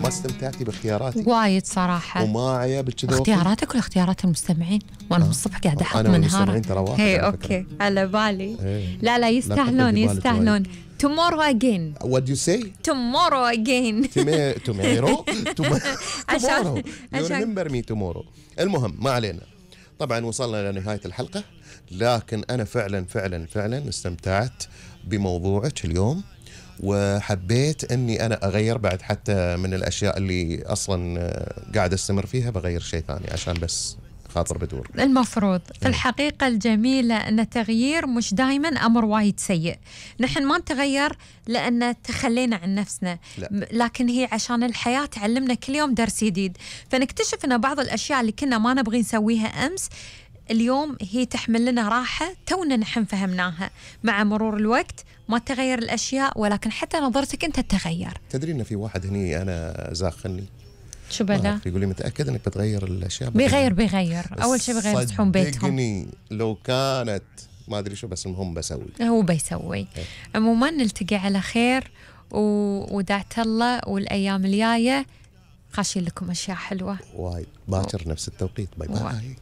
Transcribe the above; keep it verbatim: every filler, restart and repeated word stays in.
ما استمتعتي باختياراتي؟ وايد صراحة. وما عيبت كذا اختياراتك ولا اختيارات المستمعين؟ وانا من الصبح قاعدة احط منهارة. انا والمستمعين ترى واحد. هي اوكي على بالي. هي. لا لا يستاهلون يستاهلون. tomorrow again. What do you say? tomorrow again. tomorrow عشان you remember me tomorrow. المهم ما علينا. طبعا وصلنا لنهاية الحلقة، لكن أنا فعلا فعلا فعلا استمتعت بموضوعك اليوم، وحبيت أني أنا أغير بعد حتى من الأشياء اللي أصلا قاعد أستمر فيها، بغير شيء ثاني عشان بس خاطر بدور. المفروض في الحقيقة الجميلة أن التغيير مش دايما أمر وايد سيء. نحن ما نتغير لأن تخلينا عن نفسنا، لا. لكن هي عشان الحياة تعلمنا كل يوم درس جديد، فنكتشف أن بعض الأشياء اللي كنا ما نبغي نسويها أمس اليوم هي تحمل لنا راحة تونا نحن فهمناها. مع مرور الوقت ما تغير الأشياء، ولكن حتى نظرتك أنت تتغير. تدري إن في واحد هني أنا زاخني شو بدا؟ يقول لي متأكد إنك بتغير الأشياء؟ بيغير بيغير أول شيء بيغير صحون بيتهم. صدقني لو كانت ما أدري شو، بس المهم بسوي. هو بيسوي. عموما نلتقي على خير، و... ودعت الله والأيام الجاية خاشين لكم أشياء حلوة وايد باكر نفس التوقيت. باي باي.